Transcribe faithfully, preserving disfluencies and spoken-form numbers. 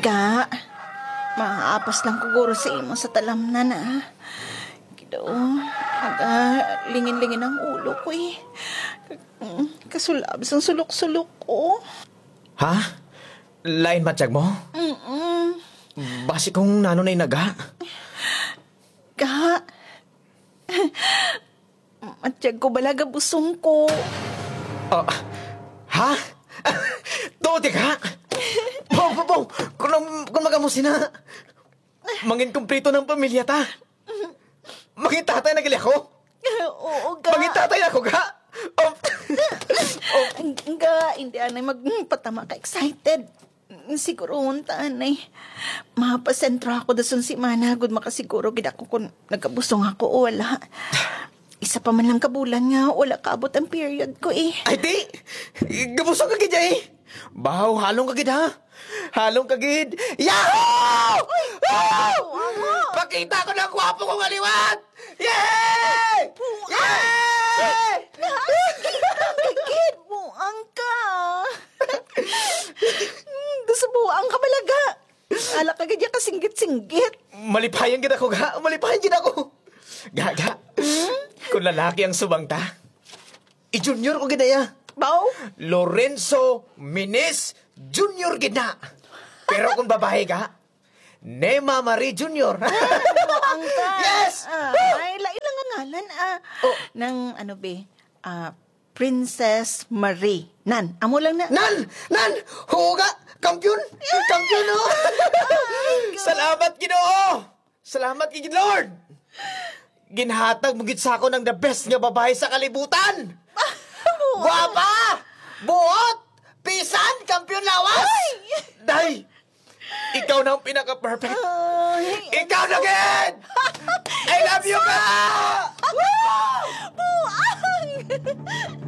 Ga, maapas lang ko guro sa imo sa talamnan, ah. Ginoo, aga, lingin-lingin ang ulo ko, eh. Mm, kasulab sang sulok-sulok ko. Ha? Lain matiyag mo? Mm-mm. Basi kung nano na inaga. Ga, matiyag ko bala gabusong ko. Ah, ha? Tuod ka? Bo, bo, bo! Kung, kung magamusin na, mangin kumplito ng pamilya ta. Mangin tatay na gali ako. Oo, ga. Mangin tatay ako, ga. Oh. Oh. Ga, hindi anay magpatama ka excited. Siguro unta anay. Mapasentro ako dason si mana, gud makasiguro gid ako kung nagabusong ako o wala. Isa pa man lang ka bulan nga wala kaabot ang period ko, eh. Ay, di! Gabusong ka gid, eh! Bahaw, halong ka gid, ha? Halong ka gid! Yahoo! Ay, Ah! buang mo! Pakita ko na ang gwapo ko nga liwat! Yay! Buang! Yay! Buang ka gid! Buang ka! Gusto buang ka bala, ga? Ala ka gid ya kasinggit-singgit. Malipayan gid ako, ga. Malipayan gid ako. Ga, ga. Hmm? Kung lalaki ang subang ta, i-junior ko gid na ya. Bao? Lorenzo Minis Junior gid na. Pero kung babae, ga, Nema Marie Junior. Buang ka. Yes! Ah, ay, lain lang ang ngalan, ah. Oh. Nang, ano, be? Ah, Princess Marie. Nan, amo lang na. Nan! Nan! Huga! Kampiyon! Kampiyon, oh! Salamat, Ginoo! Salamat kay Lord! Ginhatag mo gid sa akon ang the best nga babae sa kalibutan! Buot! Guwapa! Buot! Pisan! Kampiyon lawas! Ay! Day! Ikaw na ang pinaka-perfect! Ay, Ikaw na, Ge!